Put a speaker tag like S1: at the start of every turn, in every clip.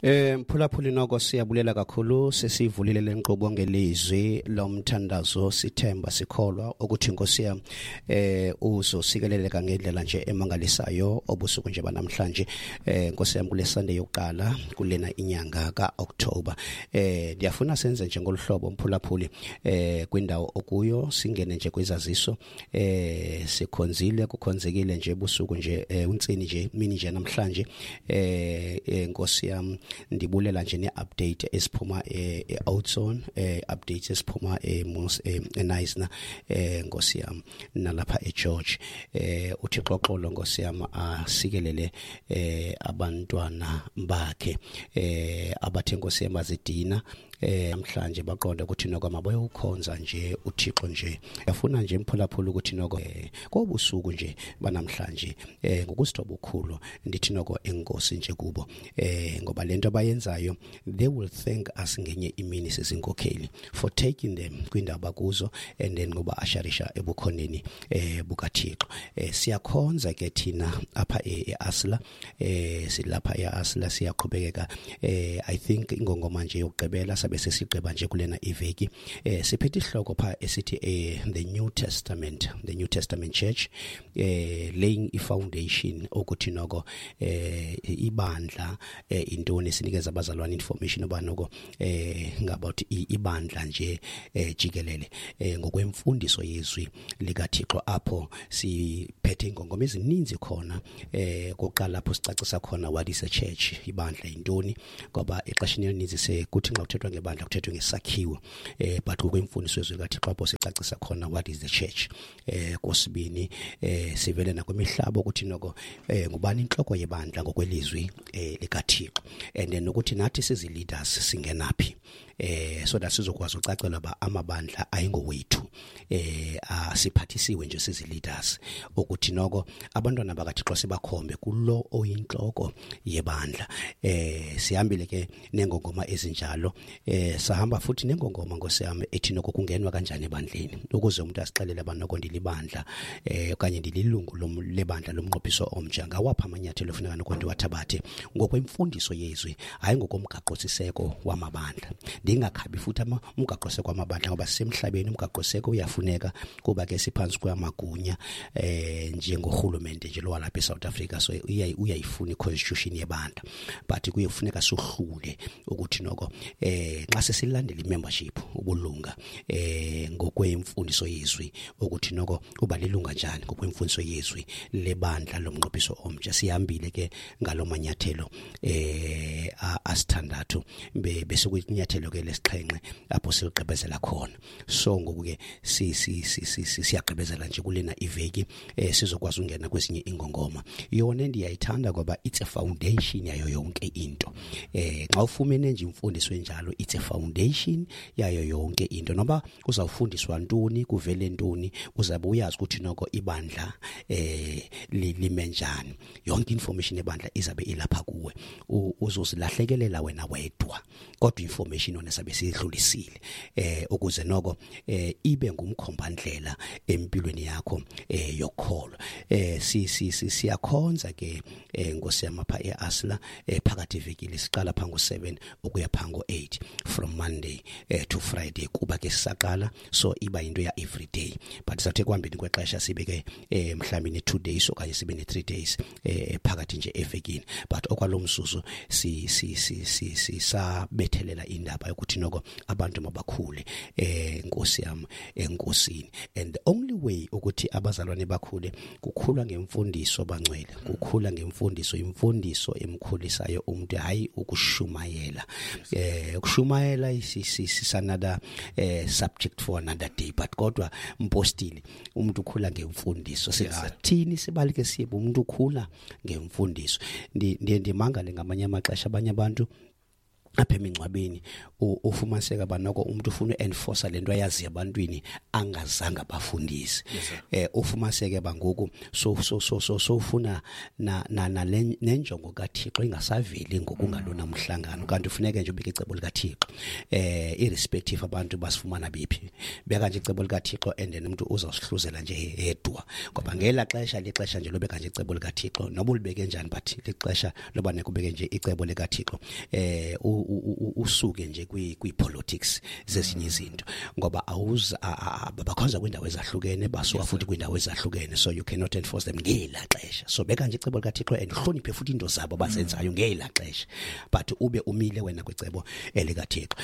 S1: Mphulaphuli, noko siyabulela kakhulu. Sesivulile lenkqubo ngelizwi lomthandazo, sithemba, sikholwa ukuthi Nkosi yam uzosikeleleka ngendlela nje emangalisayo obusuku nje banamhlanje, Nkosi yam, kule Sunday yokuqala kulena inyanga kaOctober. Ndiyafuna senze nje ngoluhlobo, mphulaphuli, kwindawo okuyo singene nje kwizaziso. Sikhonzile, kukhonzekile nje ebusuku nje, untsini nje, mini nje namhlanje. Nkosi yam, ndibulela nje ne-update esiphuma e-Oudtshoorn, updates esiphuma eNysna, Nkosi yam, nalapha eGeorge. UThixo xolo, Nkosi yam, asikelele abantwana bakhe abathe, Nkosi yam, bazidina namhlanje, baqonda ukuthi noko mabayowukhonza nje uThixo nje. Yafuna nje, mphulaphula, ukuthi noko kobusuku nje banamhlanje, ngokusithoba obukhulu ndithi noko enkosi nje kubo, ngoba lento abayenzayo, they will thank us ngenye imini sizinkokheli for taking them kwindawo bakuzo and then ngoba asharisha ebukhoneni bukaThixo. Siyakhonza ke thina apha eAsla, silapha eAsla, siyaqhubekeka. I think ingongoma nje yokugqibela sabe sesigqiba nje kulena iveki, siphethe isihloko pha esithi the New Testament, the New Testament Church, laying i-foundation ukuthi noko ibandla intoni. Sinikeza abazalwane information oba noko ngabout ibandla nje jikelele ngokwemfundiso yezwi likaThixo, apho siphethe ingongoma ezininzi khona. Kokuqala lapho sicacisa khona what is a church, ibandla yintoni, ngoba exesheni elininzi sekuthi xa kuthethwa ngebandla kuthethwe ngesakhiwo, but ngokwemfundiso yezwi likaThixo apho sicacisa khona what is the church. Kosibini, sivele nakwimihlaba ukuthi noko ngubani inhloko yebandla ngokwelizwi likaThixo, and then nokuthi nathi sizi leaders singenaphi, so that sizokwazi ucacela ba amabandla ayingowethu, asiphathisiwe nje sizi leaders ukuthi noko abantwana bakaThixo sibakhombe kulo oyinhloko yebandla. Sihambile ke nengongoma ezinjalo. Sahamba futhi nengongoma, Nkosi yami, ethi noko kungenwa kanjani ebandleni, ukuze umuntu asixelele abanoko ndilibandla okanye ndililungu lebandla lomnqophiso omtsha, ngawapha amanyathelo ofuneka noko ndiwathabathe ngokwemfundiso yezwi, hayi ngokomgaqo siseko wamabandla. Ndingakhabi futhi umgaqo siseko wamabandla, ngoba sisemhlabeni, umgaqo siseko uyafuneka kuba ke siphantsi kwamagunya njengorhulumente nje lo walapha eSouth Africa, so uyayifuna i-constitution yebandla, but kuye kufuneka sohlule ukuthi noko xa sesilandela i-membership, ubulunga, ngokwemfundiso yezwi, ukuthi noko uba lilunga njani ngokwemfundiso yezwi lebandla lomnqophiso omtsha. Sihambile ke ngalo manyathelo asithandathu, bese kuyinyathelo ke lesixhenxe apho siligqibezela khona. So ngoku ke si si si si siyagqibezela nje kulena iveki, sizokwazi ungena kwezinye ingongoma. Yona ndiyayithanda ngoba it's a foundation yayo yonke into. Xa ufumene nje imfundiso enjalo, it's a foundation yayo yonke into. Noba uzawufundiswa ntoni, kuvele ntoni, uzabe uyazi ukuthi noko ibandla lime njani. Yonke information ebandla izabe ilapha kuwe. Uzozilahlekelela wena wedwa, kodwa information yona sabe siyidlulisile ukuze noko ibe ngumkhombandlela empilweni yakho yokholo. Si si siyakhonza ke, Nkosi yam, apha eAsla phakathi ivekile, siqala pha ngo-7 ukuya pha ngo-8 from Monday to Friday, kuba ke sisaqala, so iba yinto ya every day, but sathe kuhambeni kwexesha sibe ke mhlawumbi ne-2 days okanye sibe ne-3 days phakathi nje evekini. But okwalo mzuzu si si si si sisabethelela indaba yokuthi noko abantu mabakhule, Nkosi yam, enkosini, and the only way ukuthi abazalwane bakhule kukhula ngemfundiso, bangcwele, kukhula ngemfundiso, imfundiso emkhulisayo umuntu, hayi ukushumayela. Ukushumayela is another subject for another day, but kodwa mpostile, umuntu ukhula ngemfundiso. Singathini sibalike siye, umuntu ukhula ngemfundiso. Ndiye ndimangale ngamanye amaxesha abanye abantu Apha emingcwabeni ufumaniseka banoko umuntu ufuna uenforce lento ayazi ebantwini angazange abafundise. Ufumaniseke bangoku so so so so so ufuna na na nenjongo kaThixo ingasaveli ngokungalona umhlangano, kanti ufuneke nje ubeke icebo likaThixo, irrespective abantu basifumana bephi, beka nje icebo likaThixo and then umuntu uzawusihluzela nje yedwa, ngoba ngela xesha lixesha nje lobeka nje icebo likaThixo, noba ulibeke njani, but lixesha loba nekubeke nje icebo likaThixo, usuke nje kwi politics zezinye izinto, ngoba awuza bakhonza kwindawo ezahlukene, basuka futhi kwindawo ezahlukene, so you cannot enforce them ngela xesha. So beka nje icebo likaThixo and hloniphe futhi into zabo bazenzayo ngela xesha, but ube umile wena kwicebo elikaThixo.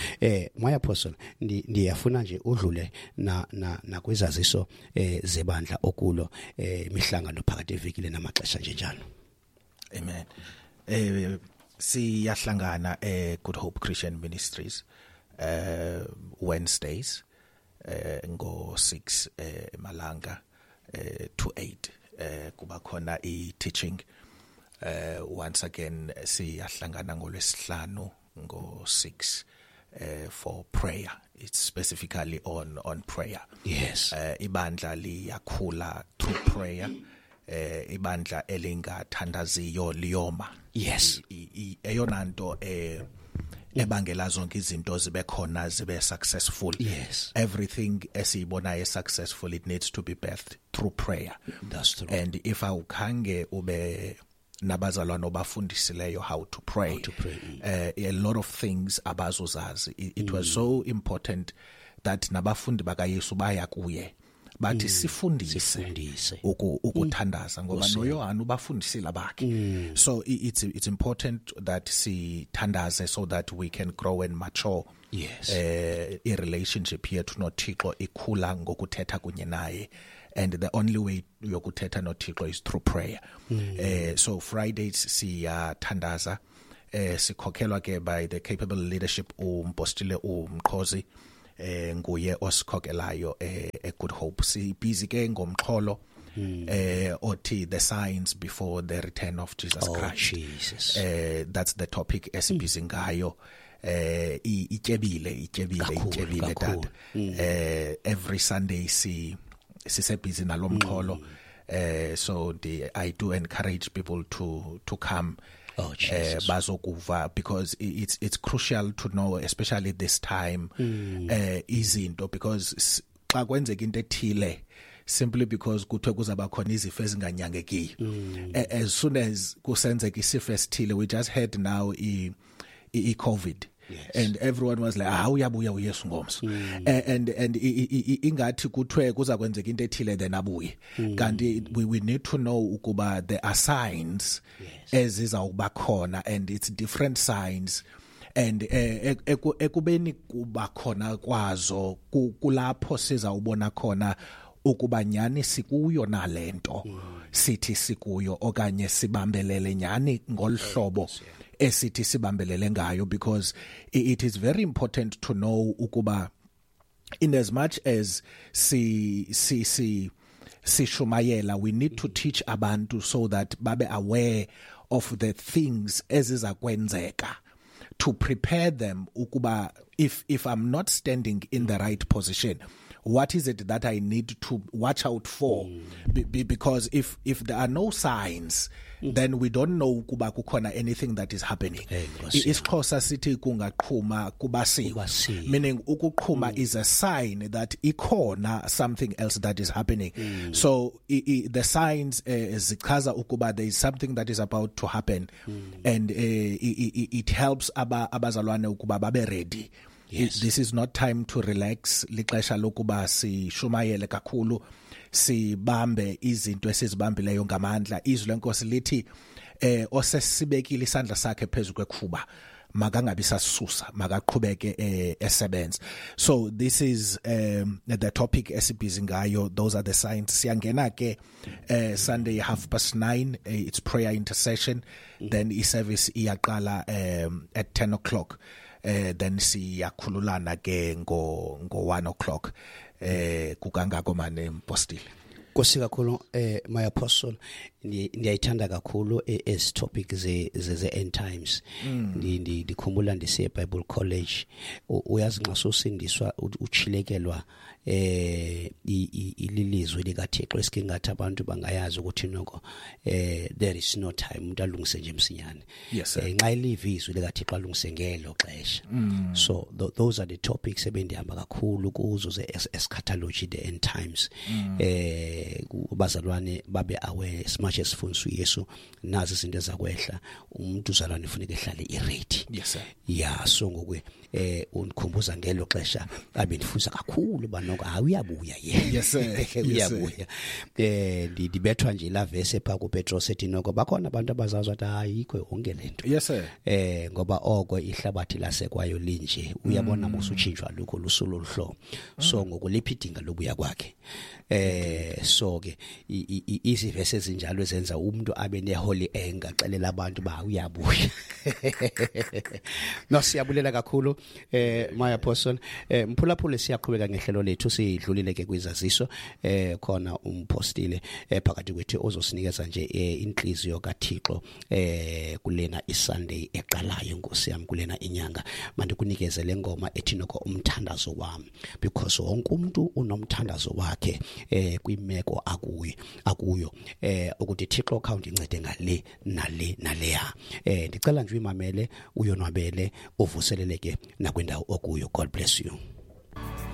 S1: My apostle, ndiyafuna nje udlule na nakwizaziso zebandla okulo, imihlangano phakathi evikile namaxesha nje njalo.
S2: Amen. Siyahlangana Good Hope Christian Ministries Wednesdays ngo 6 emalanga to 8, kuba khona i teaching. Once again siyahlangana ngolwesihlanu ngo 6 for prayer. It's specifically on prayer.
S1: Yes.
S2: Ibandla liyakhula through prayer. Ibandla elingathandaziyo liyoma.
S1: Yes.
S2: Eyona nto ebangela zonke izinto zibe khona, zibe successful.
S1: Yes.
S2: Everything esiyibonayo successful, it needs to be birthed through prayer.
S1: That's true.
S2: And if awukhange ube nabazalwane obafundisileyo how to pray, a lot of things abazozazi. It was so important that nabafundi bakaYesu baya kuye bathi sifundise ukuthandaza, ngoba noYohana ubafundisile abakhe. So it's important that sithandaze so that we can grow and mature.
S1: Yes.
S2: I relationship yethu noThixo ikhula ngokuthetha kunye naye, and the only way yokuthetha noThixo is through prayer. So Fridays siyathandaza, sikhokhelwa ke by the capable leadership umpostile uMqhozi, nguye osikhokelayo e Good Hope. Si busy ke ngomxholo othi the signs before the return of Jesus Christ.
S1: Jesus.
S2: That's the topic esibusy ngayo. Ityebile tata. Every Sunday si sisebusy nalomxholo. So I do encourage people to come.
S1: Oh, Jesus.
S2: Bazokuva, because it's crucial to know, especially this time, izinto, because xa kwenzeka into ethile, simply because kuthiwe kuzaba khona izifo ezinganyangekiyo, as soon as kusenzeka isifo esithile, we just had now i COVID.
S1: Yes.
S2: And everyone was like, uyabuya uYesu ngomso. And ingathi kuthiwe kuza kwenzeka into ethile then abuye. Kanti we need to know ukuba there are signs ezizawuba khona, and it's different signs, and ekubeni kuba khona kwazo kulapho sizawubona khona ukuba nyani sikuyo nalento sithi sikuyo, okanye sibambelele nyani ngolhlobo esithi sibambelele ngayo, because it is very important to know ukuba in as much as si si si sishumayela, we need to teach abantu so that babe aware of the things ezizakwenzeka, to prepare them ukuba if I'm not standing in the right position, what is it that I need to watch out for? Because if there are no signs, then we don't know kuba kukhona anything that is happening. IsiXhosa sithi kungaqhuma kubasiwe, meaning ukuqhuma is a sign that ikhona something else that is happening. So the signs zichaza ukuba there is something that is about to happen, and it helps abazalwane ukuba babe ready.
S1: Yes.
S2: This is not time to relax. Lixesha lokuba sishumayele kakhulu, sibambe izinto esizibambileyo ngamandla. Izwi lenkosi lithi osesibekile isandla sakhe phezulu kwekhuba makangabi sasusa, makaqhubeke esebenza. So this is the topic esibhizi ngayo. Those are the signs. Siyangena ke Sunday 9:30, it's prayer intercession. Then i-service iyaqala at 10 o'clock. Then siyakhululana ke ngo 1 o'clock. Kukangako mane mpostile.
S1: Nkosi kakhulu, my apostle, ndiyayithanda kakhulu ezi topic ze end times. Ndikhumbula ndisiye Bible College, uyazi nxa sosindiswa uchilekelwa ililizwi likaThixo, esikingathi abantu bangayazi ukuthi noko there is no time, umuntu alungise nje msinyane.
S2: Yes, sir.
S1: Nxa iliva izwi likaThixo alungise ngelo xesha. So those are the topics ebendihamba kakhulu kuzo ze eschatology, the end times. Kubazalwane babe aware as much as sifundiswa uYesu, nazi izinto ezakwehla, umuntu uzalwane ufuneka ehlale iready.
S2: Yes sir.
S1: Yeah, so ngoku undikhumbuza ngelo xesha abendifunza kakhulu banoko hayi uyabuya yena.
S2: Yes sir. Yes, sir.
S1: Uyabuya. Ndibethwa nje la verse pha kuPetros ethi noko bakhona abantu abazazi wathi ayikho yonke lento.
S2: Yes sir.
S1: Ngoba oko ihlabathi lasekwayo linje, uyabona musuchintshwa lokho lusulo luhlobo. So ngokuliphi idinga lobuya kwakhe. So ke izivesi ezinjalo ezenza umuntu abe ne holy anger, xelela abantu ba uyabuya. No, siyabulela kakhulu my apostle. Mphulaphule, siyaqhubeka ngehlelo lethu, sidlulile ke kwizaziso. Khona umpostile phakathi kwethu ozosinikeza nje inhliziyo kaThixo kulena iSunday eqalayo, Nkosi yami, kulena inyanga. Mandikunikeze le ngoma ethi noko umthandazo wami, because wonke umuntu unomthandazo wakhe kwimeko akuyo ukuthi Thixo khawundincede ngale nale naleya. Ndicela nje uyimamele, uyonwabele, uvuseleleke nakwindawo okuyo. God bless you.